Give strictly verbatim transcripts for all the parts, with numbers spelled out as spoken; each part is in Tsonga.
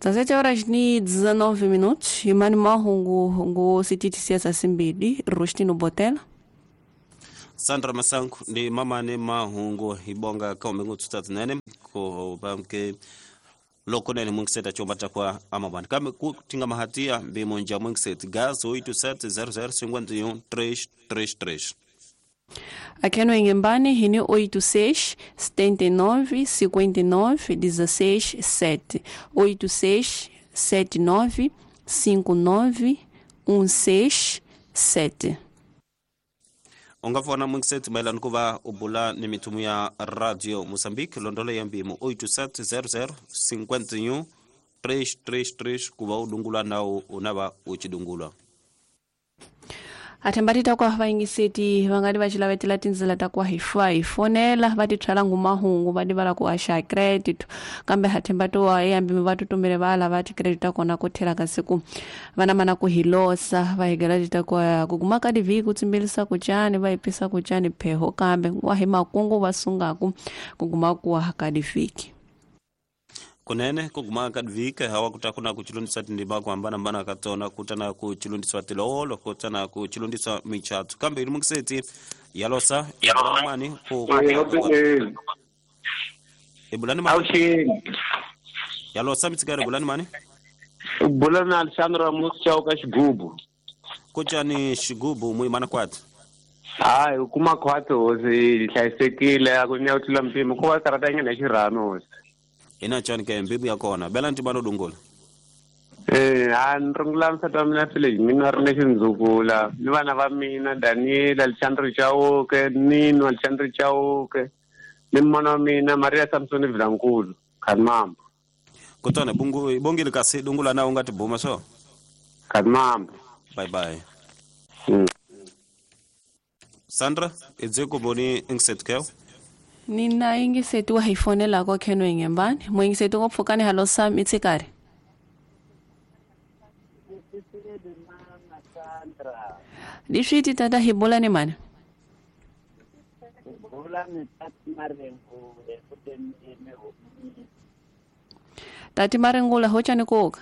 dezessete horas e dezenove minutos. Imani mahungu ngu sititi simbili Rustino Botela. Sandra Masanku ni mama ne mahungu ibonga kaume ngututatu nene ko bamke loko nene mungiseta chomba takwa amabani kame kutinga mahatia bimonja mungiseta gas oito sete zero zero cinquenta e um três três três. Aqui no Inhambane, hini oito seis, setenta e nove, cinquenta e nove, dezesseis, sete. oito seis, sete nove, cinco nove, um seis, sete. Ungafona mungiseti maelana kuva ubula ni mitumu ya Radio Mozambique londole ya mbimo oito sete zero zero cinquenta e um três três três kuva udungula nao unava uchidungula. Athembatita kwa vaingiseti vangadi vacilavetela tindzela ta kwa hifa hifonela va tithwala ngumahungu va divala ku axa credit kambe hathembato wa eyambimi va tutumile va lava ti-credit ta kona ku thela ka siku va na mana ku hilosa va higela tita kwa ku kuma ka divhiki ku tsimbilisa ku cani va hipisa ku cani pheho kambe wa hi makungu va sungaku ku kuma ku ka divhiki. Kunene kuguma kadvika hawa kutakuna kuchilundisa tindima kuhambana mbana katona kutana kuchilundiswa tilolo kutana kuchilundiswa michatu kambe ili mungiseti yalosa mani ku ebulani mani yalosa mitsigare bulani mani bulani Alexandra Musa ka xigubu kuchani xigubu muimana kwati hayi kuma kwati hosi hlayisekile a ku nyawutila mpimo ko va karata nyana xirhami hosi. Ina chani ke mbibu ya kona bela ntibano dungula eh a ndrungula msata mina village mina ri nexindzukula ni vana va mina Daniel Alexandre Chauke Nino Alexandre Chauke ni mana wa mina Maria Samson Vilankulu Khanmambo kutana bungu ibongile kasi dungula na ungati buma so Khanmambo bye bye. Mm. Sandra idzeko boni ingset keo Nina ingiseti wa hifonela kwa keno ingembani mwingiseti ngopfukani halo sam itsikari Dishiti tata hibola ni mani Tati marengula hocha ni kuoka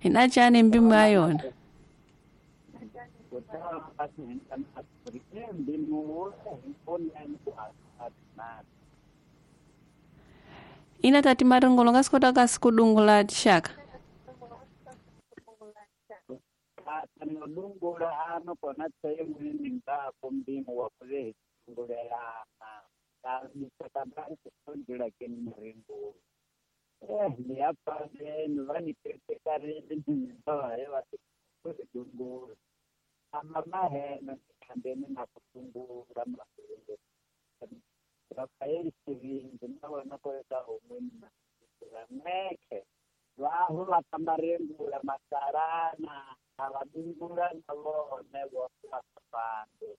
Inachani mbimu ayona Ina tati marengula ngasikota kasikudungula tishaka Eh, ni apa ni vani tekare ni ba ya kudungula ama he na kambeni na kudungula Rafael Steven na wana koleta omwena meke waho batambarengula masarana abadungula nabo nebo bapande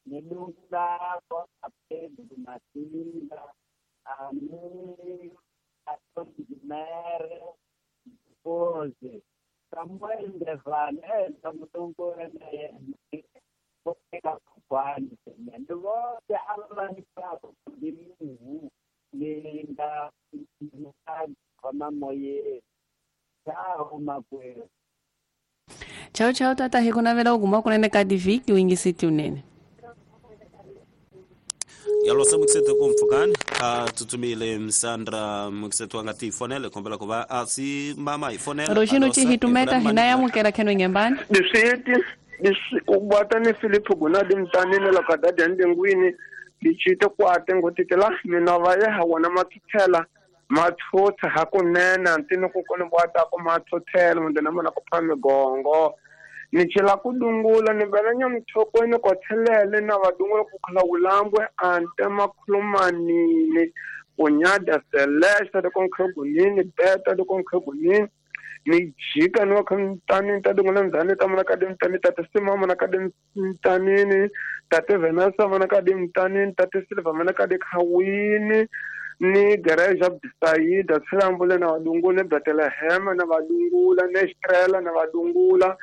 nidungula ko apedru masinga ami Atoni Pose Samuel Ndevane Samutungura naye Popeka kwani Ndote abani pako ndimu Ninda kama moye Chao makwe. Chao chao tata hikuna vela uguma kunene kadiviki wingisiti unene. Yalosa mukseto kumfukani atutumile Msandra mukseto wangati fonele kombela kuba asi mama ifonele Roshino chihitumeta hinaya mukera keno ingembani Disiti disi ubata ni Philip Gunadi mtanini la kadadi ndengwini dichite kwate ngotitela mina vaye hawana mathuthela mathutha hakunene ntini ku koni bwata ko mathuthela mundena mona ku pha migongo ni chila kudungula ni vela nyamthokweni kothelele na vadungula ku khala wulambwe ante makhulumanini kunyada selesta loko nkhegunini beta loko nkhegunini ni jika ni wa kha mtanini ta dungula ndzhani ta mona ka dimtani tate sima mona ka dimtanini tate Venasa mona ka dimtanini tate Silva mona ka dikhawini ni gereja Bisaida tshilambule na vadungula Bethlehem na vadungula na Estrela na vadungula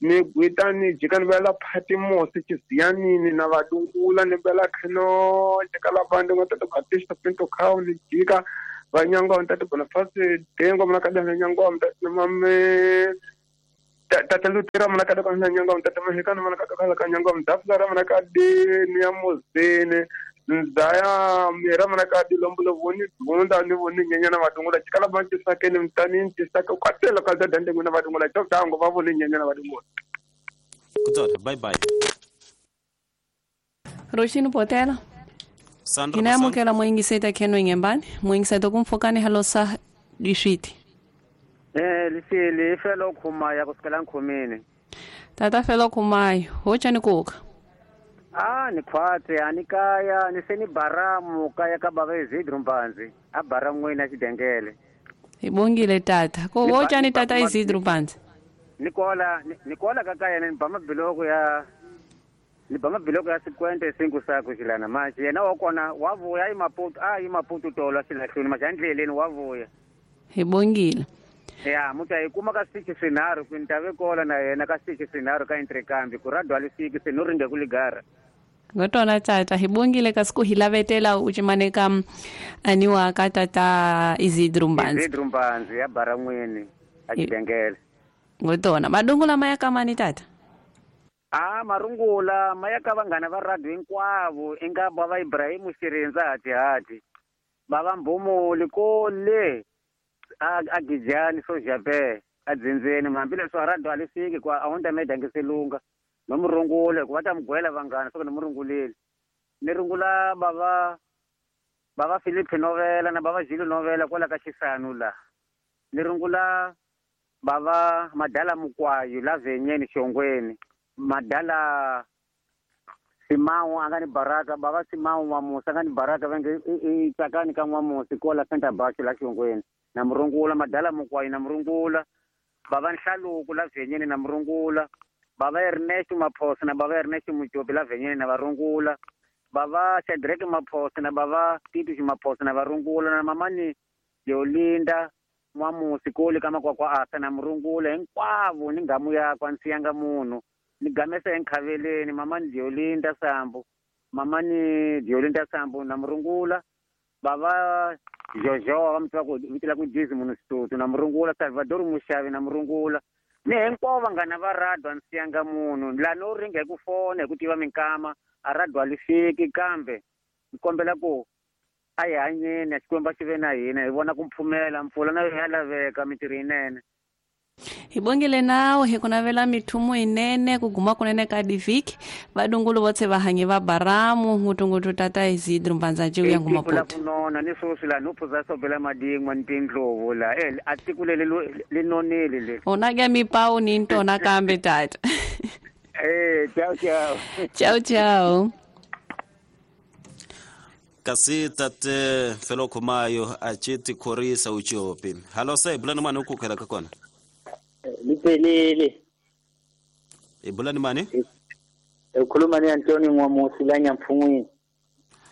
Ni gwita ni jika ni vela Patmos Chizianini na vadungula ni vela Kheno jika la vandu nga tata Batista Pinto Khao ni jika vanyanga ntata Boniface Dengo mna kada nyanga mtata mame tata Lutera mna kada kana nyanga mtata Mahikana mna kada kala kanyanga mtaflara mna kadi ni ya mozene nzaya mera mna kadi lombulo voni dunda ni voni nyenya na vadungula jika la vantu sakeni mtani ntisaka kwatela kaza dande nguna vadungula choktango vavoni nyenya na vadungula. Kutsota bye bye. Roshino potela. Sandra Inamukela mwingiseta kheno ingembani mwingiseta kumfokani halosa dishiti. Eh lisili felo khumaya kusukela nkhumini. Tata felo khumayo hocha ni kuka. Ah ni khwatse anikaya ni seni baramu kaya ka baba Izidro Mpanzi a baramu ina xidengele. Ibongile tata ko hocha ni tata Izidro Mpanzi. Nikola nikola kaka yena ni ba mabiloko ya ni ba mabiloko ya sikwente cinco sako xilana manje yena wa kona wa vuya i Maputo a i Maputo tolwa xilahlweni manje endleleni wa vuya. Ibongile. Ya muta yi kuma ka six swinharhu ku ni ta ve kola na yena ka six swinharhu ka Intrekambi ku radwa lisiki se no ringe ku ligara. Ngotona tata hibongile kasi ku hilavetela uchimaneka aniwa ka tata Izidro Mpanzi. Izidro Mpanzi ya baran'wini a xidengele. Ngotona madungula maya kamani tata. Ah marungula maya ka vanghana va radio hinkwavo inga bava Ibrahim Xirindza hati hati bava Mbhumuli kole a a Gijani Sojape a dzindzeni hambileswi a radio a li fiki kwa a wu ta meda nge selunga no murungule ku va ta mugwela vanghana soko ni murunguleli ni rungula bava bava Philip Novela na bava Gilo Novela kwala ka Xisanu la ni rungula bava Madala Mukwayu la Venyeni Xongweni Madala Simawu a nga ni baraka bava Simawu N'wamusi a nga ni baraka va nge i tsakani ka N'wamusi kwala Center Bashu la Xongweni na murungula Madala Mukwayu na murungula bava Nhlaluku la Venyeni na murungula bava Ernesto Maphosa na bava Ernesto Mujobi la Venyeni na varungula bava Shadrack Maphosa na bava Titus Maphosa na varungula na mamani Yolinda N'wamusi kole ka makwakwa asa na murungula hinkwavo ni ngamu yakwa ni siyanga munhu ni gamesa enkhaveleni mamani Diolinda Sambu mamani Diolinda Sambu na murungula bava Jojo va mutwa ku vitela ku Jizi munhu Situthu na murungula Salvador Mushavi na murungula ni hinkwavo vanghana va radio a ni siyanga munhu la no ringa hi ku fona hi ku tiva minkama a radio a li fiki kambe ni kombela ku a hi hanyeni Xikwembu a xi ve na hina hi vona ku mpfumela mpfula na yo ya laveka mintirho yinene. Hibongile nawe hi ku navela mithumu yinene ku guma kunene ka divhiki vadungulu votse va hanyi va baramu ngutungutu tata Izidro Mpanza nje uya ngumaputo. Kunona ni sweswi la no phuza sobela madingwa ni tindlovu la eh a tiko leli li nonile le. Ona ke mipawu ni ntona kambe tata. Eh ciao ciao. Ciao ciao. Kasi tate felo khumayo a chiti khorisa uchopi. Halo se bulani mani u kukhela ka kona. Liphelile. E bulani mani? Ukhuluma ni Antoni N'wamusi la Nyampfungwini.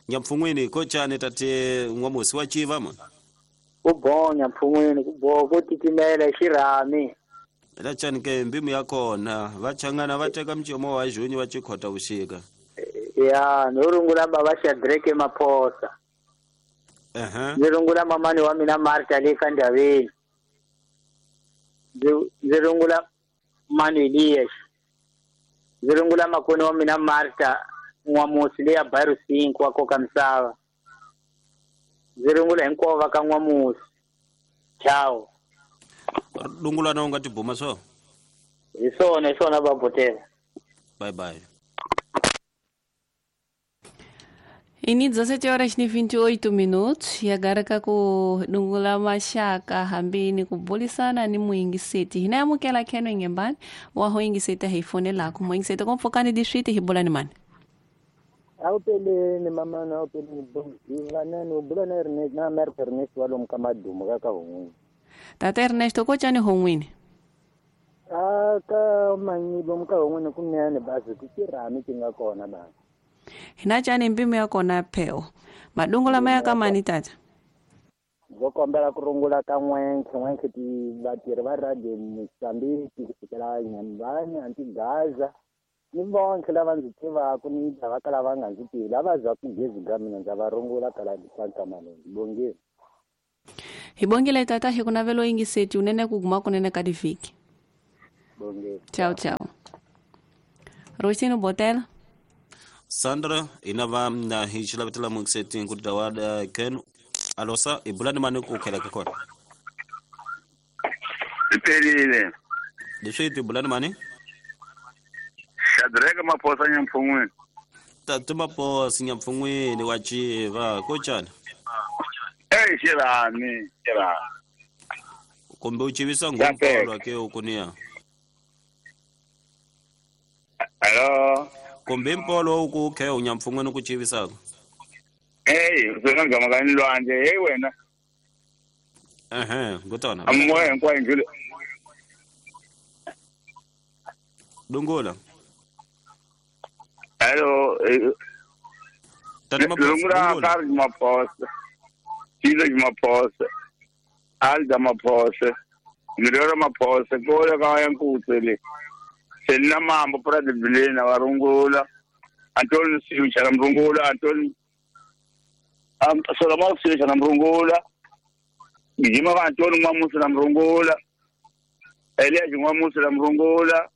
Nyampfungwini ko chani tate N'wamusi wa chiva mo? Ku bo Nyampfungwini ku bo ko titimela xirhami. La chani ke mbimu ya kona va changana va teka mchomo wa junyi va chikhota vuxika. Ya no rungula baba Shadrack Maphosa. Aha. Ni rungula mamani wa mina Martha le ka Ndaveni. Ndzi rungula Manuel ndzi rungula makoni wa mina Martha N'wamusi leya Bairo cinco wa koka misava. Ndzi rungula hinkwavo va ka N'wamusi. Ciao. Rungula na u nga tibuma swo? Hi swona hi swona babotela. Bye bye. Ini dezessete horas e vinte e oito minutos e agora ka ku dungula mashaka hambini kubulisana ni muingiseti hina yamukela kheno ingembani wa ho ingiseti hi fone lakho muingiseti komfokani dishiti hibulani mani awupeleni mama na awupeleni bongi ubula na Ernest na Mer Ernest walo mkamadumo kaka hongwini. Tata Ernesto ko chani hongwini? Ah ka manyibo mka hongwini kunene basi kuchirami tinga kona basi. Hina chani mbimu ya kona peo. Madungu la maya kama ni tata. Ndzo kombela ku rungula ka n'wenkhe n'wenkhe ti vatirhi va radio Mozambique ku sukela Nyambani Antigaza ni vonkhe lava ndzi tivaka ni lava ka lava nga ndzi tivi lava zaku gezi ga mina ndza va rungula kala Sankamalonzi bongeni. Hi bongile tata hi ku navelo yingiseti unene ku guma kunene ka divhiki. Bongeni. Ciao ciao. Rosino Botela. Sandra inava na hi xilavetela mungiseti ku tawada ken alosa ibulani mani ku khela ka kona. Iphelile. Leswi tibulani mani? Shadrack Maphosa Nyampfungweni. Tata Maphosa Nyampfungweni wa Chiva kochana. Eh xirani, xirani. Kumbe u chivisa ngompolo ke ukunia. Hello. Kumbe mpolo ku khe u Nyampfungweni ku chivisaka. Hey, swona ngama ka nilwandle, hey wena. Ehe, ngutona. Amoya hinkwayo ndlule. Dungula. Hello. Tata Maphosa. Dungula Karl Maphosa. Tilo Maphosa. Alda Maphosa. Mirora Maphosa, kola ka ya nkutsele. Selina Mambo Prade Bilena warungula. Antoni Siucha mrungula, Antoni Am Solomon Siucha mrungula. Gijima ka Antoni Mwamusi na mrungula. Elias Mwamusi na mrungula.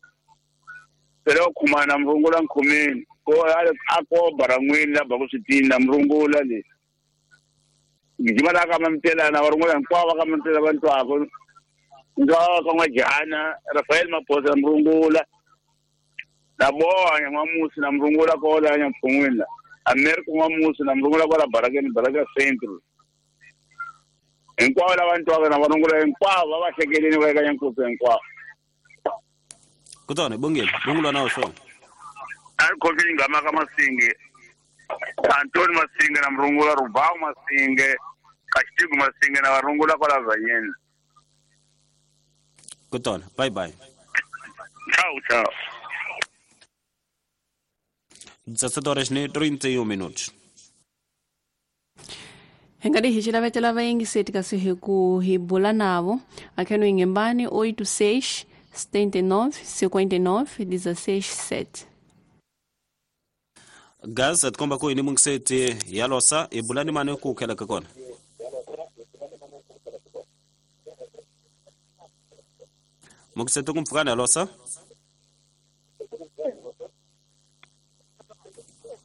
Pero kumana mrungula nkhumeni. Ko ale ako barangwini la bakusitini na mrungula le. Gijima la ka mamtela na warungula nkwa ka mamtela bantu ako. Ngawa ka N'wajana Rafael Maphosa mrungula. Na boa Mwamusi na mrungula kola Nyampfungweni. America Mwamusi na mrungula kola Barakeni Baraka Central. Hinkwavo lava ntwaka na varungula hinkwavo va va hlekeleni va eka Nyankutsu hinkwavo. Kutani bongile, bongilwa na swona. A ri khomile ngama ka Masinge. Antoni Masinge na mrungula Rubao Masinge, Kashtigu Masinge na varungula kola Vanyeni. Kutani, bye bye. Ciao, ciao. dezessete horas e trinta e um minutos. Hi nga hi xilavetela vayingiseti kasi hi ku hi bula navo akheno ingembani oito seis setenta e nove cinquenta e nove dezesseis sete. Gaza tikomba ku yini mungiseti ya losa i bulani mani ku khela ka kona. Mungiseti ku mpfukana ya losa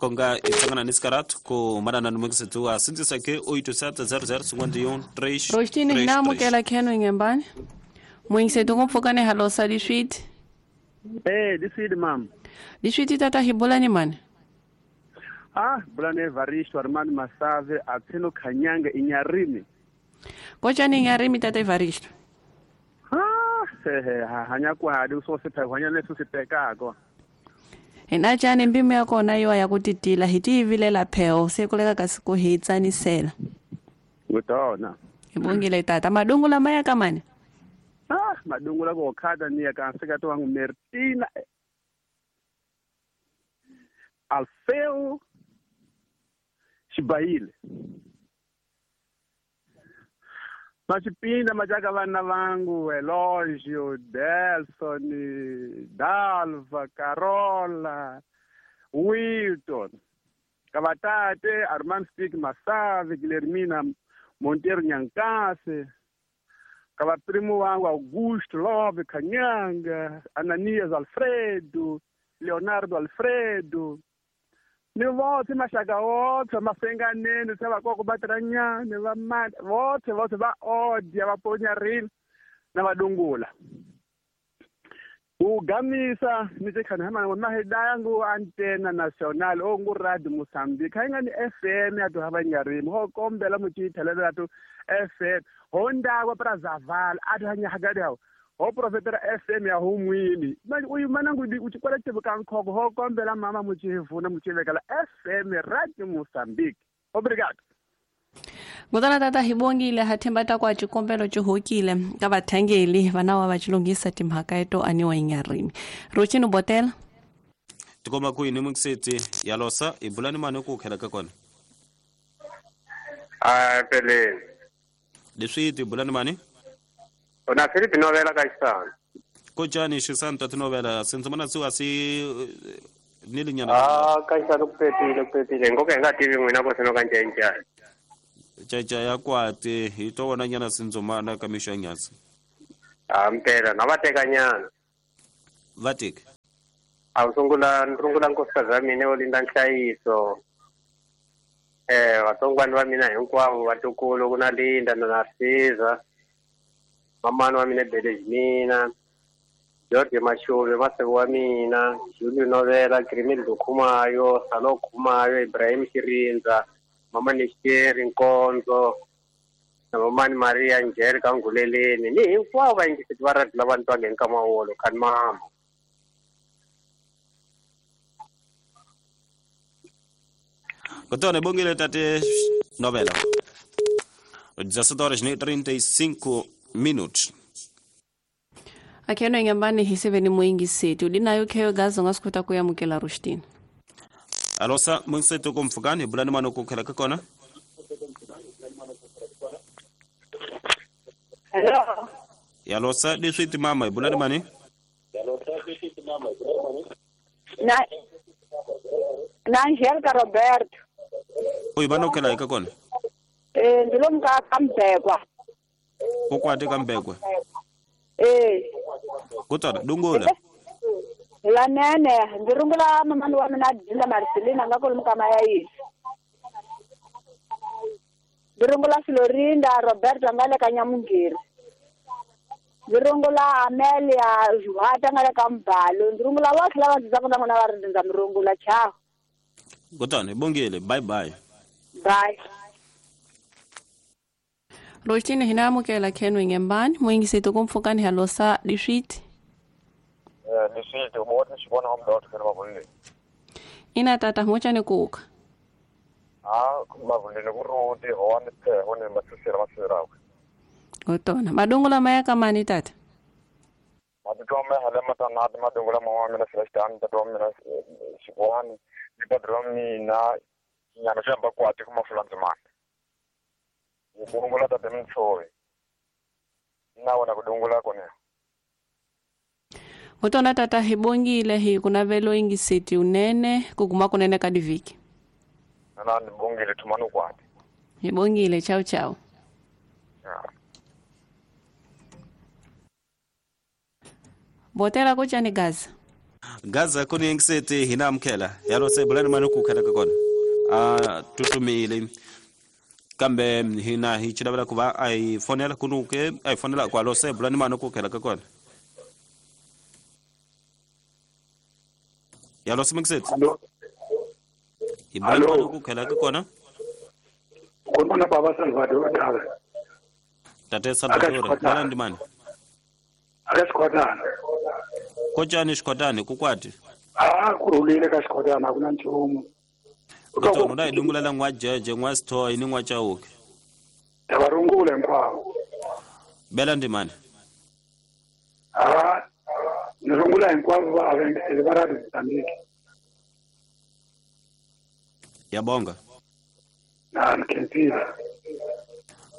konga itsangana nisikarat ku manana ni mungiseti wa sindzisa ke oito sete zero zero cinquenta e um três. Rostini hi na amukela kheno ingembani. Mungiseti ku mpfukana ya losa liswiti. Eh, liswiti mam. Liswiti tata hi bulani mani. Ah, bulani Evaristo Armando Masave atseno Khanyanga inyarimi. Kochani inyarimi tata Evaristo? Ah, hehe, hanya ku hadi so se phe hanya leso se pekako. Hina chani mbimi ya kona yo ya kutitila hi tivilela pheo se kuleka kasi ku hi tsanisela. Ngutona. Ibongile tata madungu lama ya kamani. Ah, madungu la ko khada ni ya ka seka to wangu Mertina Alfeu Xibayile. Machipinda machaka vana vangu Elogio, Delson, Dalva, Carola, Wilton, Cavatate, Armand Stick Masave, Guilhermina Monteiro Nhankase, Cavaprimo wangu Augusto Love Khanyanga, Ananias Alfredo, Leonardo Alfredo. Ni vothe maxaka wothe masenganeni se vakoko va tirhanyani va mati vothe vothe va odya va ponyarini na vadungula ku gamisa ni tikhana hama mahidaya ngu antena national o ngu radio Mozambique ha nga ni F M ya to hava nyarimi ho kombela muchithelelo to F M ho ndakwa pra zavala a to hanya hagadi hawo ho profetera F M ya humwini manje uyu manangu u chikwala chibuka nkhoko ho kombela mama muchivuna muchivekela F M Radio Mozambique. Obrigado. Ngutana tata hibongile hathemba ta kwa chikombelo chihokile ka vathangeli vana wa vachilungisa timhaka eto aniwa inyarini. Rochino Botela. Tikoma ku yini mungiseti ya losa ibulani mani ku khela ka kona. Ah pele. Leswi ti bulani mani? Ona Philip Novela ka Xisana. Kojani Xisana ta tinovela sindzimana siwa si nilinyana. Ah, ka Xisana ku pepile ku pepile ngoka hi nga tivi n'wina ko sino ka njhenjhani. Caca ya kwate hi to vona nyana sindzimana ka mixo ya nyasi. Ah, mpela na va teka nyana. Va teka. A wu sungula ni rungula nkosikazi wa mina wo linda nhlayiso. Eh, vatsongwana va mina hinkwavo vatukulu ku na Linda na Narciza. Mamani wa mina Belejmina, George Mashuve maseko wa mina, Julio Novela, Grimildo Khumayo, Salo Khumayo, Ibrahim Shirindza, Mama Nisheri Nkonzo, na Mamani Maria Angelica Nguleleni, ni hinkwavo vayingiseti va radio lava ni twange nkama wolo khani mama. Kutone bongile tate Novela. dezessete horas e trinta e cinco minutos. Akeno ingambani hiseveni muingiseti udinayo kheyo gazo ngasikota kuyamukela Rushtini. Alosa mungiseto komfukani bulani mano kukhela ka kona. Hello. Yalosa leswi ti mama bulani mani? Yalosa leswi ti mama bulani mani? Na Na Angelica Roberto. Oi bano khela ka kona. Eh ndilomka kambekwa. Kokwate kambekwa. Eh. Kutana dungola. La nene ndirungula mamani wa mina Dinda Marcelina nga kolomuka mayayisi. Ndirungula Florinda Roberto nga le ka Nyamungeri. Ndirungula Amelia Juhata nga le ka Mbalo. Ndirungula votlhe lava ndzi tsakaka na va ri ndza mirungula chao. Kutana bongile bye bye. Bye. Rostini hina amukela khenwe ngembani muingiseti kumfukani halosa dishiti. Eh dishiti ubona xibona umdotho kana mavuleni. Ina tata mochane kuka. Ah mavuleni ku ruti hone phe hone matsisira matsirawe. Otona madungula maya kamani tata. Madungula maya hala matana madungula mawa mina Celestine tata mina xibona ni padrão mina nyana xamba kwati kuma fulanzimana. Kudungula tate mtsowe na kudungula kone. Kutona tata hibongile hi kunavelo ingiseti unene kuguma kunene kadiviki. Na nibongile tumanu kwati. Hibongile chao chao. Yeah. Botela kochani Gaza. Gaza kuni ingiseti hina mkhela. Yalo sebulani manu kukhela kakona. Ah tutumile. Kambe hina hi chilavela kuva ai fonela kunuke ai fonela kwa lose bulani mano kukhela ka kona. Ya lose mixet. Allo. Ibulani mano kukhela ka kona. Kona baba Salvador dala. Tate Salvador bala ndimani. Aka sikhotana. Kochani sikhotani kukwati. Ah kurulile ka sikhotana akuna nchumu. Kutona dai dungula la ngwa jeje ngwa sithoyi ni ngwa chauke. Tavarungule nkwavo. Bela ndimani. Ah nirungula hinkwavo va avengisele va radio Mozambique. Yabonga. Na nkhensile.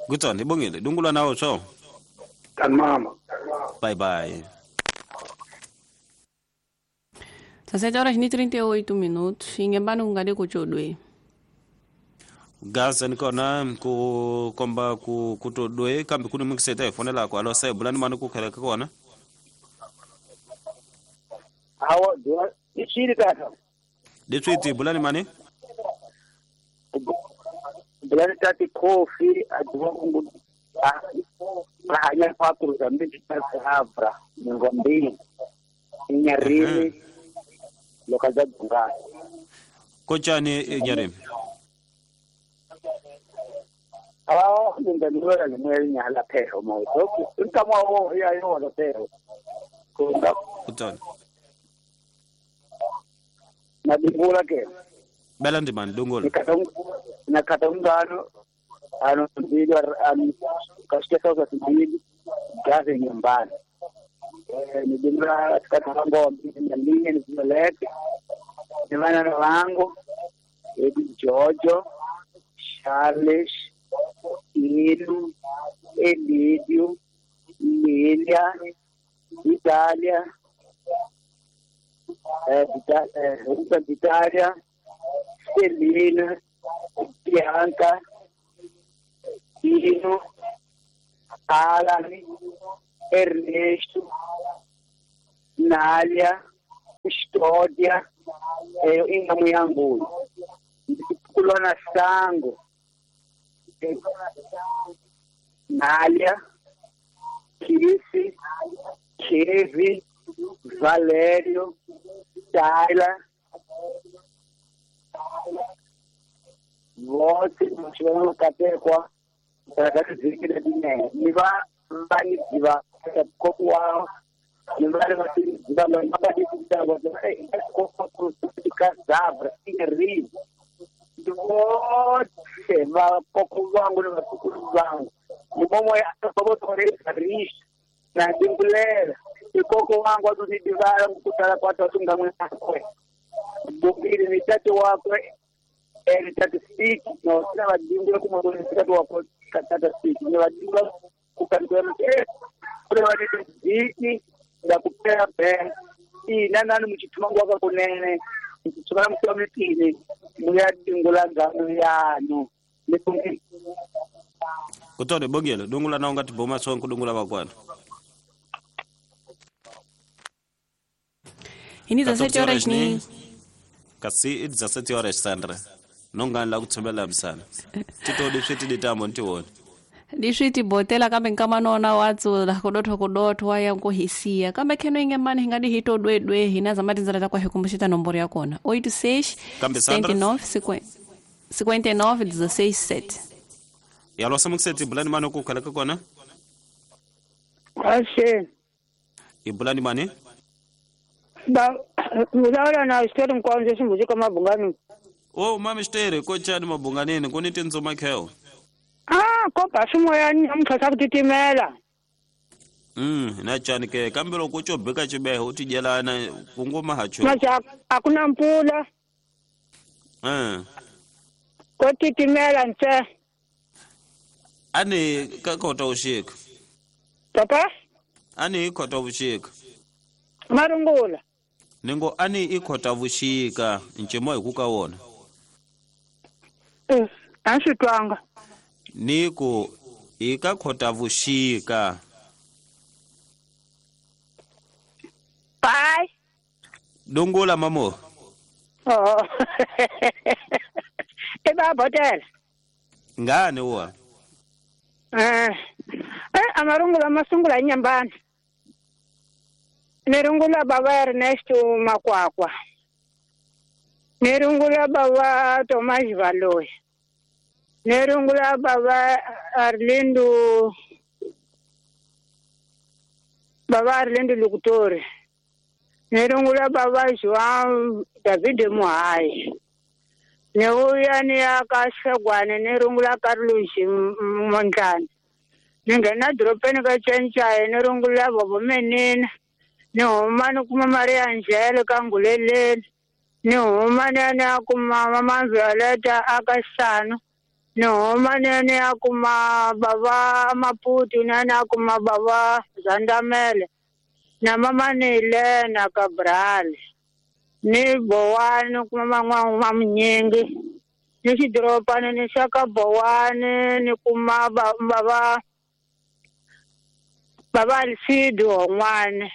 Kutona ibongile dungula nawo so. Tan mama. Bye bye. sete horas e trinta e oito minutos, ingembani kungade kuchodwe. Gaza nikona ku komba ku kutodwe kambe kuni mukiseta ifonela kwa alo sai bulani manu kukhela kona. Hawa dua ichiri tata. Detswiti bulani mani? Bulani tati kofi adwa kungu ah pa cruzamento de Havra, Mozambique. Inharime. Localidade Bungara. Kochani Inharime? Ah, ndinganura limwe nyala phero mo. Nkama wo ya yo lo phero. Kunda. Kutona. Na dingula ke. Bela ndimani dungula. Nakata ungano ano ndilo an kashika kwa simanyidi gaze nyumbani. Eh nidingula katika ngombe ndinye nizoleke. Ndivana wangu Edi Jojo Charles Ilu Elidio, Lilia, Italia, eh, eh, Italia, Celina, Bianca, Dino, Alan, Ernesto, Nália, Custódia, eh, Ingamuyangu, Kulona Sango, Nália, Kissy, Kevin, Valério, Tayla, vote no katekwa rakadzikira dine niva vaniziva kokuwa nivari vasiziva vakadikazabra iri vote vakoko vangu nevatukuru vangu mumomo yaotorerishi nadimbulela ikoko wangu atonidivala kutala kwato atungamwakwe bukili ni tate wakwe eri tatu siki no sina vadingula kumwe tatu wako tatu siki ni vadingula kukantoa eh kule vadete ziki ndakupera be ina nani muchituma ngwaka kunene muchituma mutomitini muyadingula ngano yanu nikungi kutone bogelo dungula na ungati boma so kudungula bakwana ini dezessete horas ni kasi dezessete horas Sandra nongani la kuthembela msana titodi switi ditambo ntiwona diswiti botela kambe nkamanona watsula kudotho kudotho waya nkuhisia kambe kheno inge mani hingadi hito dwedwe hina zamati nzala takwa hikumbushita nomboro yakona oito seis setenta e nove cinquenta e nove dezesseis sete yalwasa mukuseti bulani mani okukhalaka kona Ashe ibulani mani ba vulavula na xitori nkonzo ximbuzi ka mabungani. Oh mami xitere ko chani mabunganini ku ni tindzuma kheo. Ah ko ba swimoyani namuntlha swa ku titimela. Mm na chani ke kambe loko u cobeka xibeho u tidyelana ku ngoma ha cho. Maxa a ku na mpfula. Eh. Ko titimela ntse. Ani ka kota vuxika. Papa? Ani hi kota vuxika. Marungula. Ningo ani i kota vuxika ncimo hi ku ka wona. Eh, a swi twanga. Ni ku hi ka kota vuxika. Bye. Dungula mamo. Oh. E ba botela. Ngani wa? Eh. Eh amarungula masungula nyambani. Nirungula baba Ernesto Makwakwa. Nirungula baba Tomás Valoy. Nirungula baba Arlindo baba Arlindo Lukutore. Nirungula baba João David Muhai. Niuya ni akashegwane nirungula Carlos Montana. Ningena dropeni ka Chenchaye nirungula baba Menina. Ni huma ni kuma Maria Angelica Nguleleni. Ni huma ni ya ni ya kuma Mama Violeta Akasano. Ni huma ni ya ni ya kuma baba Maputu ni ya ni ya kuma baba Zandamele. Na mama ni Elena Cabral. Ni Bowani kuma man'wana Munyingi. Ni xidorobana ni xa ka Bowani ni kuma baba baba Alcido Hon'wana.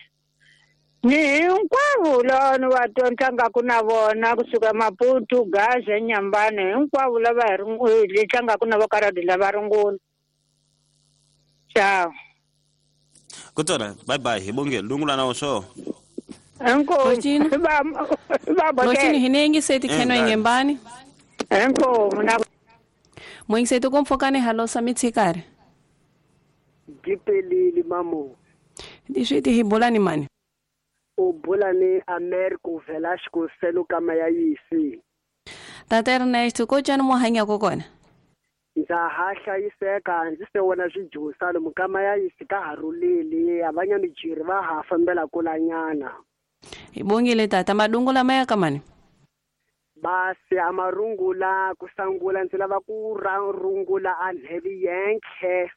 Ni hinkwavo lava ni va tlangaka na vona kusuka Maputo, Gaza, Nyambani, hinkwavo lava hi tlangaka na vo karadi lava rungula. Ciao. Kutona, bye bye, hi bongelo dungula na so. Inkomu. Ba Lochini hinengi seti kheno ingembani. Inkomu na Mwingisetu komfokane halosa mitsikare. Gipelili mamo. Diswiti hi bolani mani. O bolane Americo Velasco selo kama ya yisi. Tata Ernesto ko tjani mo hanya ko kona. Ndza ha hlayiseka ndzi se wona swijusa lomu kama ya yisi ka ha rhulile avanya mijiri va ha fambela kulanyana. Hi bongile tata madungula maya kamani. Basi amarungula kusangula ndzi lava ku rungula a nhevi yenkhe.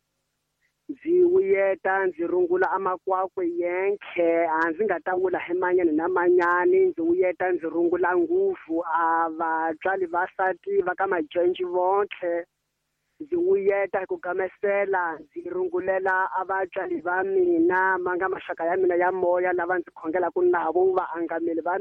Ndzi wuyeta ndzi rungula amakwakwe yenkhe a ndzi nga ta vula hi manyani na manyani ndzi wuyeta ndzi rungula nguvu a vatswari vasati va ka majenji vonkhe ndzi wuyeta hi ku gamesela ndzi rungulela a vatswari va mina ma nga maxaka ya mina ya moya lava ndzi khongelaka navo vaangameli va